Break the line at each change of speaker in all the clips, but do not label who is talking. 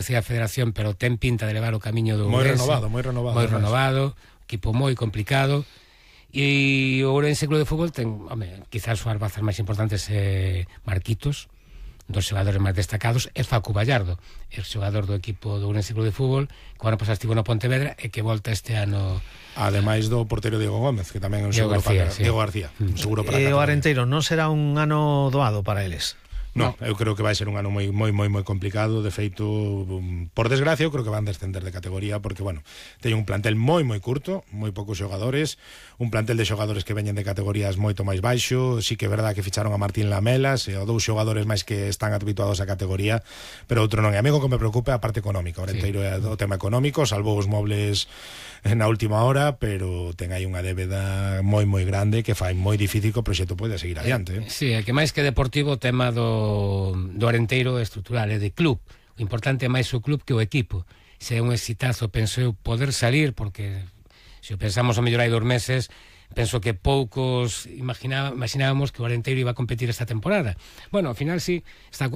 decía a Federación, pero ten pinta de levar o camiño do Ourense.
Moi renovado,
equipo moi complicado. E o Ourense Club de Fútbol ten, quizás as bazas máis importantes Marquitos, dos xogadores máis destacados, e Facu Vallardo, el xogador do equipo do Ourense Club de Fútbol, que ano pasado estivo no Pontevedra e que volta este ano.
Ademais do portero Diego Gómez, que tamén é un seguro para Diego García, un seguro para
o Arenteiro non será un ano doado para eles.
No, eu creo que vai ser un ano moi complicado. De feito, por desgracia, eu creo que van descender de categoría porque, bueno, teñen un plantel moi curto, moi poucos xogadores, un plantel de xogadores que veñen de categorías moito máis baixo. Sí que é verdad que ficharon a Martín Lamelas e a dous xogadores máis que están habituados á categoría, pero outro non. E a mí o que me preocupa é a parte económica. O Arenteiro é o tema económico, salvou os mobles na última hora, pero ten aí unha débeda moi grande que fai moi difícil que o proxecto poida seguir adiante.
Sí, é que máis que deportivo, o tema do Arenteiro é estrutural, é de club. O importante é máis o club que o equipo. Se é un exitazo, penso eu, poder salir, porque se o pensamos a mellor hai 2 meses, penso que poucos imaginábamos que o Arenteiro iba a competir esta temporada. Bueno, ao final sí,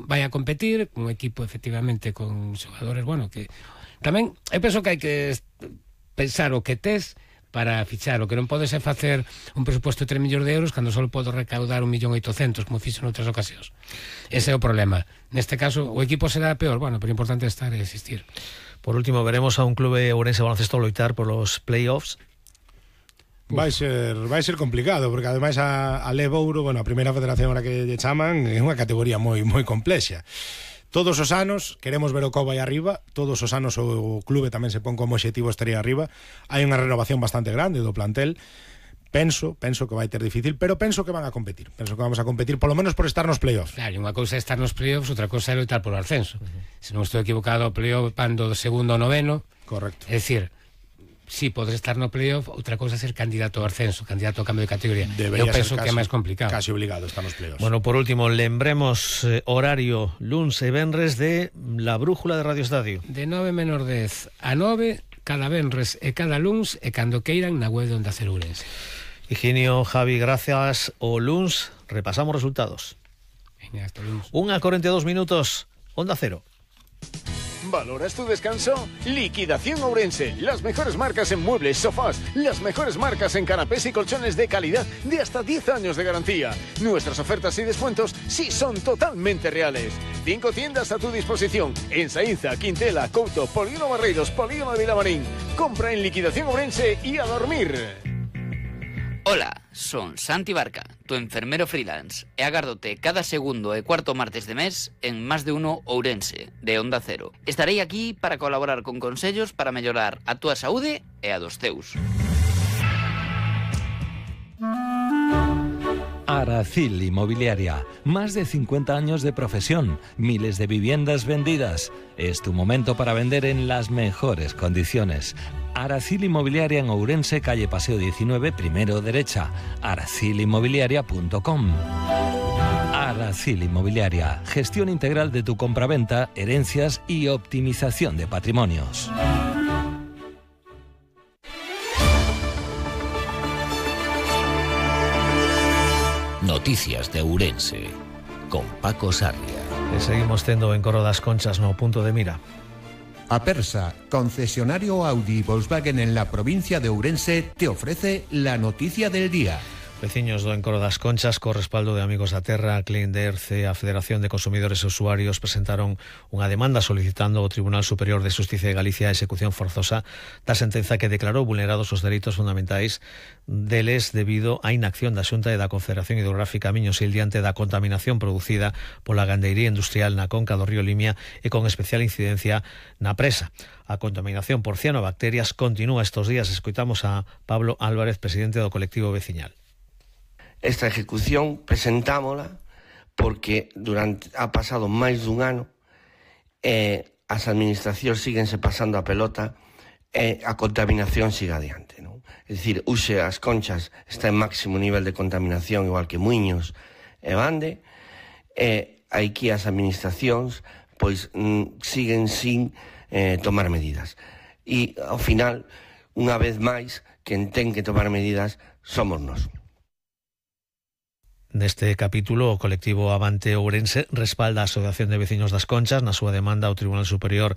vai a competir un equipo efectivamente con xogadores, bueno, que tamén eu penso que hai que pensar o que tes para fichar. O que non podes é facer un presupuesto de 3 millóns de euros cando só podo recaudar 1.800.000, como fixo noutras ocasións. Ese é o problema. Neste caso, o equipo será peor, bueno, pero o importante é estar e existir.
Por último, veremos a un clube ourense baloncesto loitar por los playoffs.
Vai ser complicado, porque ademais a Levouro, bueno, a primeira federación a que lle chaman, é unha categoría moi complexa. Todos os anos queremos ver o Cobo aí arriba, todos os anos o clube tamén se pon como objetivo estar aí arriba. Hai unha renovación bastante grande do plantel. Penso que vai ter difícil, pero penso que van a competir. Penso que vamos a competir, polo menos por estar nos playoffs.
Claro, unha cousa é estar nos playoffs, outra cousa é loitar polo ascenso. Se non estou equivocado, o playoff van do segundo ao noveno.
Correcto.
É dicir, si podes estar no playoff, outra cousa é ser candidato ao ascenso, candidato ao cambio de categoría. Eu penso que é máis complicado.
Casi obligado estar nos playoffs.
Bueno, por último, lembremos horario luns e venres de La Brújula de Radio Estadio.
De 9:10 a 9, cada venres e cada luns, e cando queiran na web de Onda Cero Ourense.
Higinio, Javi, gracias. O luns repasamos resultados.
Venga, hasta luns.
1:42, Onda Cero.
¿Valoras tu descanso? Liquidación Ourense. Las mejores marcas en muebles, sofás. Las mejores marcas en canapés y colchones de calidad de hasta 10 años de garantía. Nuestras ofertas y descuentos sí son totalmente reales. 5 tiendas a tu disposición. En Saínza, Quintela, Couto, Polígono Barreiros, Polígono de Vilamarín. Compra en Liquidación Ourense y a dormir.
Hola, son Santi Barca, tu enfermero freelance, e agárdote cada segundo e cuarto martes de mes en Más de Uno Ourense, de Onda Cero. Estarei aquí para colaborar con consellos para mellorar a túa saúde e a dos teus.
Aracil Inmobiliaria, más de 50 años de profesión, miles de viviendas vendidas. Es tu momento para vender en las mejores condiciones. Aracil Inmobiliaria en Ourense, calle Paseo 19, primero derecha. aracilinmobiliaria.com. Aracil Inmobiliaria, gestión integral de tu compraventa, herencias y optimización de patrimonios.
Noticias de Ourense, con Paco Sarria.
E seguimos tendo en Corro das Conchas no punto de mira.
Apersa, concesionario Audi y Volkswagen en la provincia de Ourense, te ofrece la noticia del día.
Veciños do Encoro das Conchas, co respaldo de Amigos da Terra, Clean de Erce, a Federación de Consumidores e Usuarios presentaron unha demanda solicitando ao Tribunal Superior de Xusticia de Galicia a execución forzosa da sentenza que declarou vulnerados os dereitos fundamentais deles debido á inacción da Xunta e da Confederación Hidrográfica Miño-Sil diante da contaminación producida pola gandeiría industrial na conca do río Limia e con especial incidencia na presa. A contaminación por cianobacterias continúa estes días. Escoitamos a Pablo Álvarez, presidente do colectivo veciñal.
Esta ejecución presentámola porque ha pasado máis dun ano e as administracións síguense pasando a pelota e a contaminación siga adiante, non? É dicir, Uxe as Conchas está en máximo nivel de contaminación igual que Muiños e Bande, e aquí as administracións pois siguen sin tomar medidas. E ao final, unha vez máis, quen ten que tomar medidas somos nós.
Neste capítulo, o colectivo Avante Ourense respalda a Asociación de Veciños das Conchas na súa demanda ao Tribunal Superior